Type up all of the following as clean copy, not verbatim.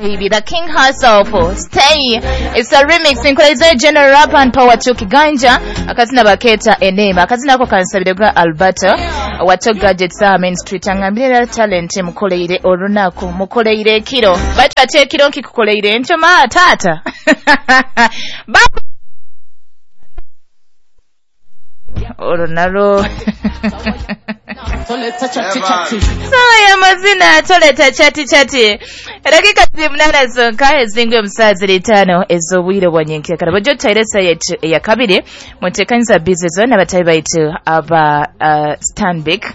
Baby, the king herself, stay. It's a remix inkulaiza General Rap and Power to Kiganja. Akazina baketa enema. Akazina ako kansabire gwa Alberto. Wato gadgets Main Street. Angambire talent mukoleire olunaku mukoleire ekiro. Batu ate ekiro nkikukoleire ntyo ma tata. Olwo nalwo sawa ya mazina toleta chati chati. Dakika 8 zonka ezingu omusaa ziri 5 ez'obwire bwa nyenkyakara. Bw'ojja tutaire yetu eya kabiri muteekaniza bizi zonna abatayi baitu aba Stanbic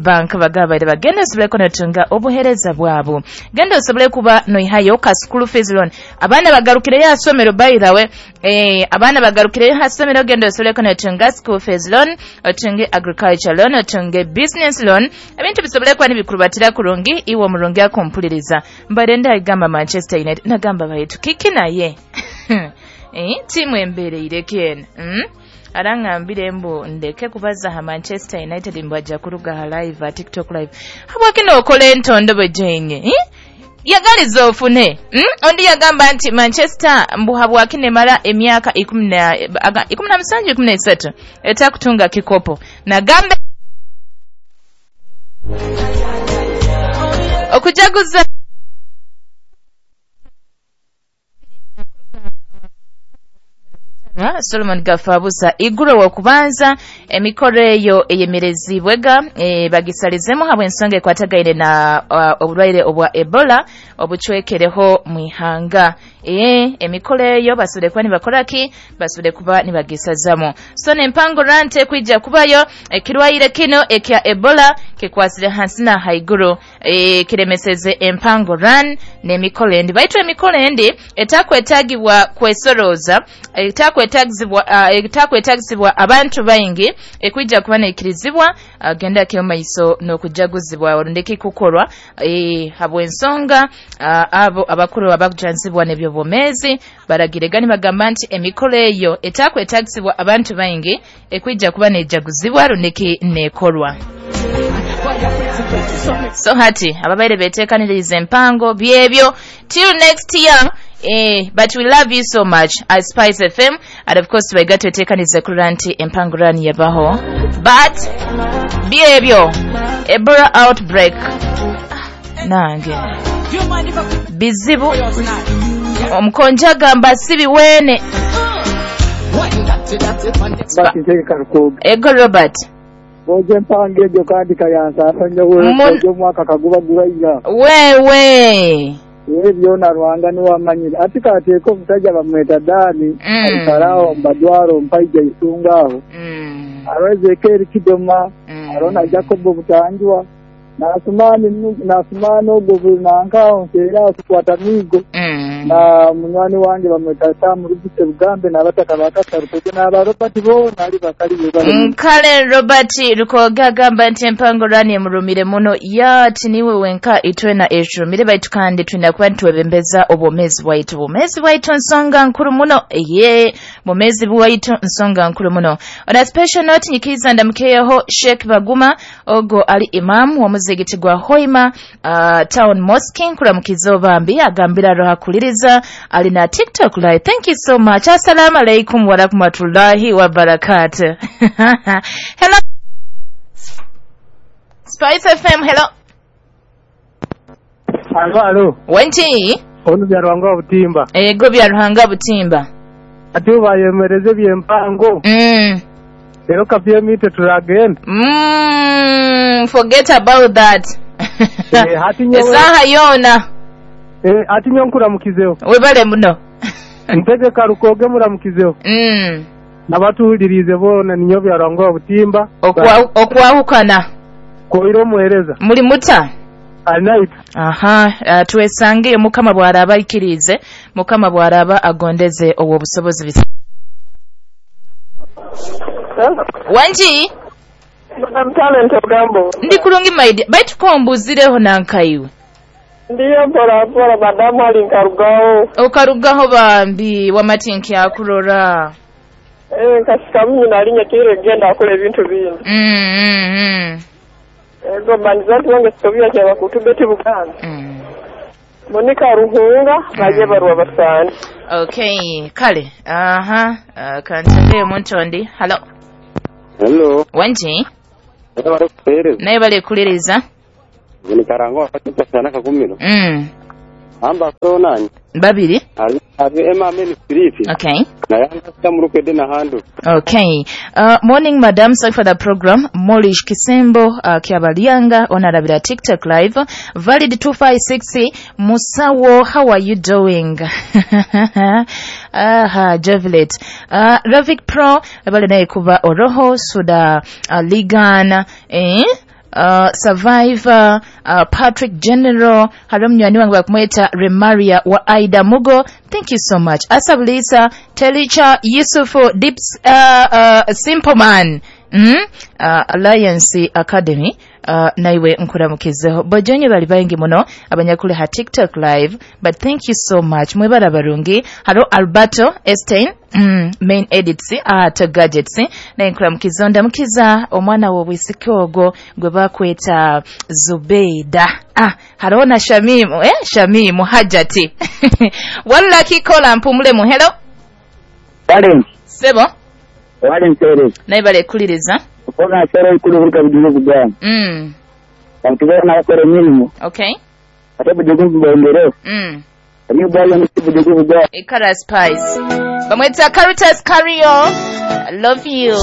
Bank bagabaire bagenda osobole kunotunga obuhereza bwabo. Genda osobole kuba noihayo ka school fees loan. Abaana bagarukireyo asomero by the way. Abaana bagarukireyo asomero, genda osobole kunotunga school fees loan, otunge agriculture loan, otunge business loan. Ebintu bisobole kuba nibikurubatira kurungi iwe omurungi akumpuliriza. Mbadde ndagamba Manchester United nagamba baitu kiki naye. Tiimu embereireko eno. Arangambire mbu ndeke kubaza ha Manchester United mbu ajja kuruga ha live ha TikTok live. Habwaki nookola entondo bwe jenye? Yagaliza ofune. Ondi yagamba nti Manchester mbu habwaki nemara emyaka 17 13 etakutunga kikopo. Nagambe okujaguza Solomon Gafabusa iguro wa kubanza emikoro eyo eyemerezibwega bagisalizemu habwe ensonga ekwatagaine na obulwaire obwa Ebola obuchwekereho mwihanga. Emikoro eyo basubire kuba nibakoraki, basubire kuba nibagisazamo. So nempango rante kwijja kubayo ekirwaire kino ekya Ebola kikwasire hansi na haiguru, kiremeseze empango ran n'emikoro endi. Baitu emikoro endi etakwetagibwa kwesoroza, etakwetagizibwa abantu baingi ekwijja kuba neikirizibwa genda kyo maiso n'okujaguzibwa olundeki kukorwa habw'ensonga abo abakuru abakujanzibwa n'ebyobwomezi baragirega nibagamba nti emikoro eyo etakwetagizibwa abantu baingi ekwijja kuba nejaguzibwa rundeki nekorwa. So hati ababaire beteekaniriza empango byebyo till next year. But we love you so much at Spice FM, and of course baigatweteekaniza kulira nti empango rani yabaho, but byebyo Ebola outbreak nange bizibu. Omukonja agamba si biweene. Ego Robert Boje mpange egyo kandi kayansaasa nnyo wewe omwaka kaguba gubaira wewe byona Rwanga niwamanyire ati kateeka omusajja bamweta Dani aikaraaho mbadwaro mpaija isunga aho aro Ezekiel Kidoma aro na Jacobo Butanjwa nasumani ogwo nankaho nseera kukwata migo na munywani wange bamweta Sam Rubise Bugambe n'abataka bakasa Rukoge n'aba Robert boona ali bakali bebale. Kale Robert Rukoge agamba nti empango rani emurumire muno yati niwe wenka itwena ejumire baitu kandi twina kuba nitwebembeza obwomezi bwaitu. Obwomezi bwaitu nsonga nkuru muno. Ye bwomezi bwaitu nsonga nkuru muno. On a special note nyikiza ndamukeyeho Sheikh Baguma ogo ali imam wa muzigiti gwa Hoima Town Mosque nkuramukizo bambi agambira roha kuliriza ali na TikTok live. Thank you so much. Assalamu alaikum wa rahmatullahi wa barakatuh. Hello Spice FM, hello. Alo alo. Wenti? Ono bya Ruhanga Butimba. Ego bya Ruhanga Butimba. Ati bayemereze byempango. Rero kavyemite turagenda. Forget about that. Esaha yona. Ati nyonkuramukizeho. Webale muno. Ntegeka Rukoge muramukizeho. N'abatuwulirize boona ninyo bya Ruhanga Butimba. Okwahukana. Koiro omuhereza. Muri muta? Alright. Aha, twesange Mukama bwaraba ikirize, Mukama bwaraba agondeze obwo busobozi bisi. Wanji? Madam Talent Ogambo. Ndi kulungi maidi. Baitu kombuzireho nankaiwe. Ndiyo mpora mpora madamu ali nkarugaho. Okarugaho bambi wamatinki akurora. Nkasika mimi nalinye kire genda akole ebintu bingi. Ego banzantu wange sikobya kya bakutubeti Buganda. Monica Ruhunga baje barwa basani. Okay, kale. Aha, kantabe omuntu ondi. Hello. Hello. Wanji? Bari Naye bali kuliriza. Ni karango akasana kakumiro. Amba sonani. Babiri. Ari ema meni street. Okay. Na yanga murukede na handu. Okay. Morning madam, sorry for the program. Molish Kisembo, Kiabalianga, onarabira TikTok live. Valid 256 Musawo, how are you doing? Aha, Jovelet. Ravik Pro, bale naye kuba Oroho, Suda, Ligan, eh? Survivor, Patrick General, hariho munywani wange bakumweta Remaria wa Aida Mugo. Thank you so much. Asabulisa, Telicha, Yusufu, Dips, Simple Man, Alliance Academy. Naiwe nkuramukizeho bojonye bali baingi muno abanyakule ha TikTok live, but thank you so much mwebara barungi. Haro Alberto Estein, main edits at gadgets, naye nkuramukiza ndamukiza omwana wo bwisiki ogwo gwe bakweta Zubeida. Haro na Shamimu, Shamimu Hajati. Walla kikola mpumule mu. Hello. Wale. Sebo. Wale mtere. Naye bale kuliriza. Okona sero ikulu buka bidigo kugana. Abantu bakora emirimu. Okay. Ate budigo bwongere. Ani bwali mti budigo bugana. Ikara Spice. Bamweta Caritas Cario. I love you.